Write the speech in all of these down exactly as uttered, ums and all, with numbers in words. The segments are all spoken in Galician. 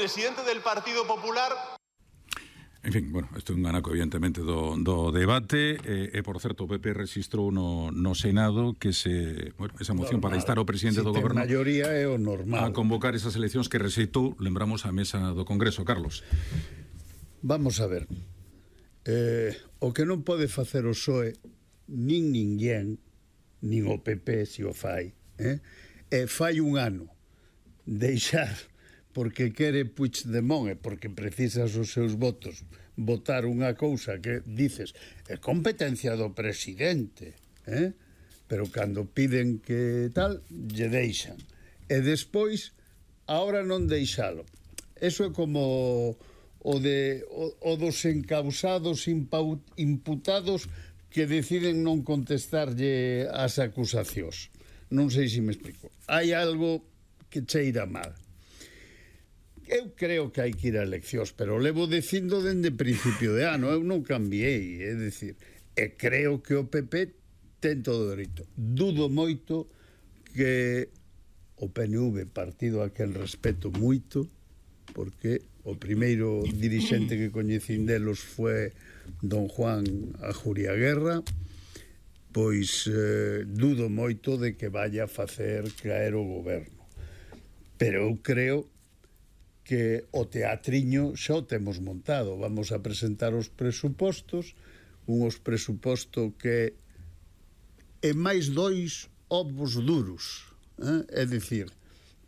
presidente del Partido Popular. En fin, bueno, isto é un anaco evidentemente do, do debate e, e, por certo, o P P registrou no, no Senado que se, bueno, esa moción normal para instar ao presidente si do Goberno maioría é o normal a convocar esas eleccións que rexeitou, lembramos, a mesa do Congreso. Carlos. Vamos a ver, eh, o que non pode facer o P S O E nin ninguén, nin o P P se o fai, eh? e fai un ano deixar porque quere Puigdemont e porque precisas os seus votos votar unha cousa que dices é competencia do presidente, eh? pero cando piden que tal lle deixan e despois ahora non deixalo. Eso é como o de o, o dos encausados imputados que deciden non contestarlle as acusacións. Non sei se me explico. Hai algo que cheira mal. Eu creo que hai que ir a eleccións, pero levo dicindo dende principio de ano, eu non cambiei, é dicir, e creo que o P P ten todo o dereito. Dudo moito que o P N V, partido a quen respeto moito, porque o primeiro dirixente que coñecín delos foi don Juan Ajuria Guerra, pois eh, dudo moito de que vaya a facer caer o goberno. Pero eu creo que o teatriño xa o temos montado. Vamos a presentar os presupostos, unhos presupostos que é máis dois ovos duros, eh? é dicir,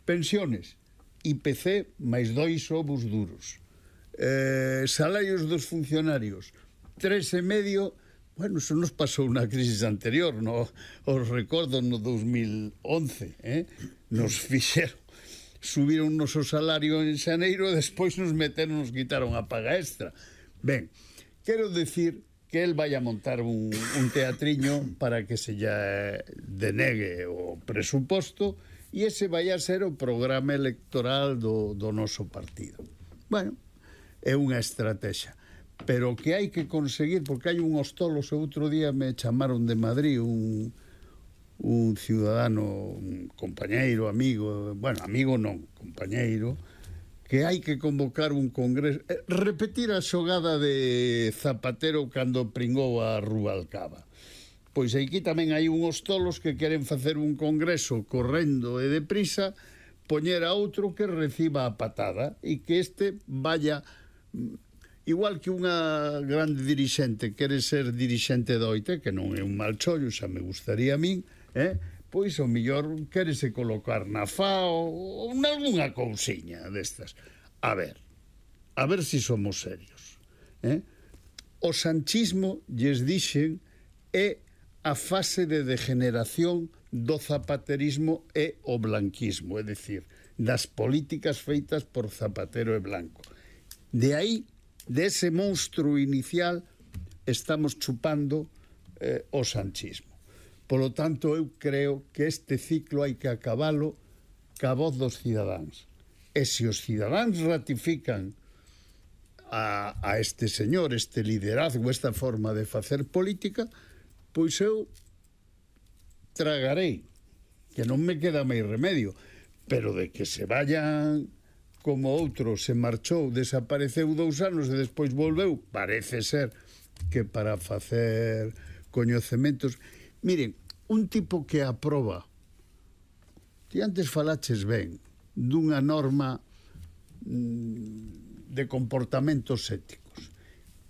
pensiones, I P C máis dois ovos duros, eh, salarios dos funcionarios, tres e medio. Bueno, eso nos pasou na crisis anterior, no, os recordo no dos mil once, eh? nos fixeron subiron o noso salario en xaneiro e despois nos meteron, nos quitaron a paga extra. Ben, quero decir que el vai a montar un, un teatriño para que se lle denegue o presuposto e ese vai a ser o programa electoral do, do noso partido. Bueno, é unha estrategia, pero que hai que conseguir, porque hai unhos tolos, o outro día me chamaron de Madrid un un ciudadano, un compañeiro, amigo, bueno, amigo non, compañeiro, que hai que convocar un congreso, eh, repetir a xogada de Zapatero cando pringou a Rubalcaba. Pois aquí tamén hai unhos tolos que queren facer un congreso correndo e deprisa, poñer a outro que reciba a patada e que este vaya, igual que unha grande dirixente quere ser dirixente do O I T, que non é un mal chollo, xa me gustaría a min, eh? pois o millor quérese colocar na F A O ou nalgúnha cousiña destas. A ver, a ver se si somos serios. Eh? O sanchismo, lles dixen, é a fase de degeneración do zapaterismo e o blanquismo, é dicir, das políticas feitas por Zapatero e Blanco. De aí, de ese monstruo inicial, estamos chupando eh, o sanchismo. Polo tanto, eu creo que este ciclo hai que acabalo ca voz dos cidadáns. E se os cidadáns ratifican a, a este señor, este liderazgo, esta forma de facer política, pois eu tragarei, que non me queda máis remedio, pero de que se vayan como outro se marchou, desapareceu dous anos e despois volveu, parece ser que para facer coñecementos. Miren, un tipo que aproba, que antes falaches ben, dunha norma de comportamentos éticos,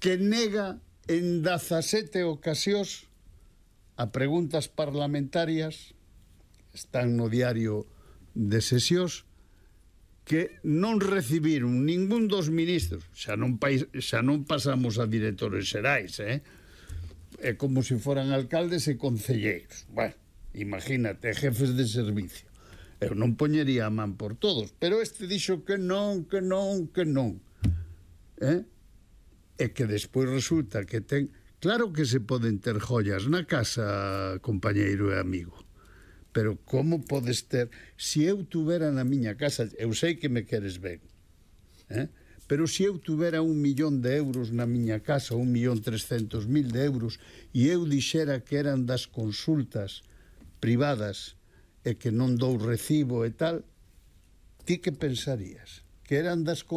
que nega en dezasete ocasións a preguntas parlamentarias, están no diario de sesións, que non recibiron ningún dos ministros, xa non, xa non pasamos a directores xerais, eh? É como se foran alcaldes e concelleiros. Bueno, imagínate, jefes de servicio. Eu non poñería a man por todos, pero este dixo que non, que non, que non. Eh? E que despois resulta que ten... Claro que se poden ter joias na casa, compañeiro e amigo, pero como podes ter... Se eu tuvera na miña casa, eu sei que me queres ben, eh? pero se eu tuvera un millón de euros na miña casa, un millón trescentos mil de euros, e eu dixera que eran das consultas privadas e que non dou recibo e tal, ti que pensarías? Que eran das consultas